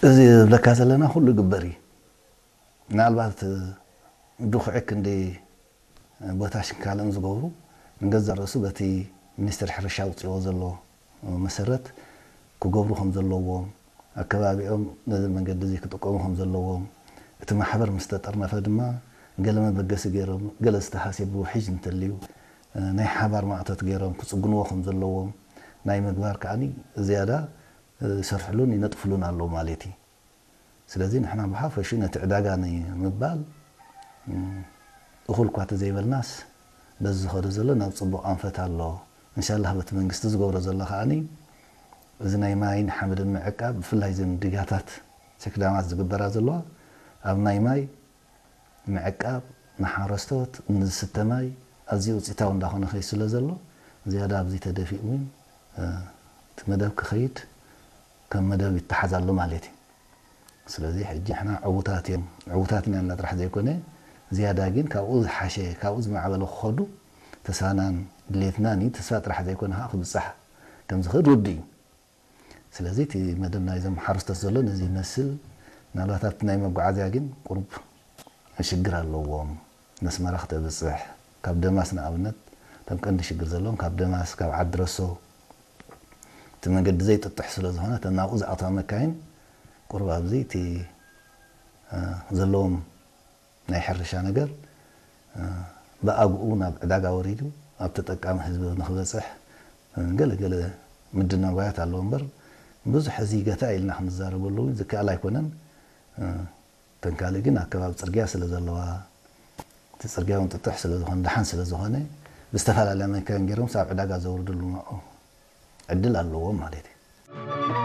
እዚ ዝብለካ ዘለና ኩሉ ይግበር እዩ። ምናልባት ድኹዒ ክንዲ ቦታሽን ካልእን ዝገብሩ ንገዛእ ርእሱ በቲ ሚኒስትሪ ሕርሻ ኣውፅእዎ ዘሎ መሰረት ክገብሩ ከም ዘለዎም፣ ኣከባቢኦም ነዚ መንገዲ እዚ ክጥቀሙ ከም ዘለዎም፣ እቲ ማሕበር ምስ ተጠርነፈ ድማ ገለ መበገሲ ገይሮም፣ ገለ ዝተሃስየ ብውሕጅ እንተልዩ ናይ ሓባር ማእቶት ገይሮም ክፅግንዎ ከም ዘለዎም ናይ ምግባር ከዓኒ ዝያዳ ይሰርሕሉን ይነጥፍሉን ኣለዉ ማለት እዩ። ስለዚ ንሕና ብሓፈሹ ነቲ ዕዳጋ ንምባል እኹል እኳ ተዘይበልናስ በዚ ዝኸዶ ዘሎ ናብ ፅቡቕ ኣንፈት ኣሎ። እንሻላህ በቲ መንግስቲ ዝገብሮ ዘሎ ከዓኒ እዚ ናይ ማይን ሓመድን ምዕቃብ ብፍላይ እዘን ዲጋታት ቸክዳማት ዝግበራ ዘለዋ ኣብ ናይ ማይ ምዕቃብ ንሓረስቶት ንዝስተ ማይ ኣዝዩ ውፅኢታዊ እንዳኾነ ከይድ ስለ ዘሎ ዝያዳ ኣብዚ ተደፊኡ እውን እቲ መደብ ክኸይድ ከም መደብ ይተሓዝ ኣሎ ማለት እዩ። ስለዚ ሕጂ ንሕና ዕዉታት እዮም ዕዉታት ኢና ጥራሕ ዘይኮነ ዝያዳ ግን ካብኡ ዝሓሸ ካብኡ ዝማዕበለ ክኸዱ ተስፋናን ድሌትናን እዩ። ተስፋ ጥራሕ ዘይኮነ ከዓ ክብፃሕ ከም ዝኽእል ርዱእ እዩ። ስለዚ እቲ መደብ ናይዞም ሓረስቶት ዘሎ ነዚ ይመስል። ምናልባት ኣብቲ ናይ መጓዓዝያ ግን ቁሩብ ሽግር ኣለዎም። ነስመራ ክተብፅሕ ካብ ደማስ ንኣብነት እቶም ቀንዲ ሽግር ዘለዎም ካብ ደማስ ካብ ዓዲ ረሶ እቲ መንገዲ ዘይጥጥሕ ስለ ዝኾነ እተን ናብኡ ዝኣትዋ መካይን ቁሩብ ኣብዚ እቲ ዘለዎም ናይ ሕርሻ ነገር ብኣግኡ ናብ ዕዳጋ ወሪዱ ኣብ ተጠቃሚ ህዝቢ ንክበፅሕ ገለ ገለ ምድናጓያት ኣለዎ እምበር ብዙሕ እዚ ገታ ኢልና ክንዛረበሉ እውን ዝከኣል ኣይኮነን። ተንካሊ ግን ኣከባቢ ፅርግያ ስለ ዘለዋ እቲ ፅርግያ እውን ጥጡሕ ስለ ዝኾነ ደሓን ስለ ዝኾነ ብዝተፈላለያ መካይን ገይሮም ኣብ ዕዳጋ ዘውርድሉ ዕድል ኣለዎም ማለት እዩ።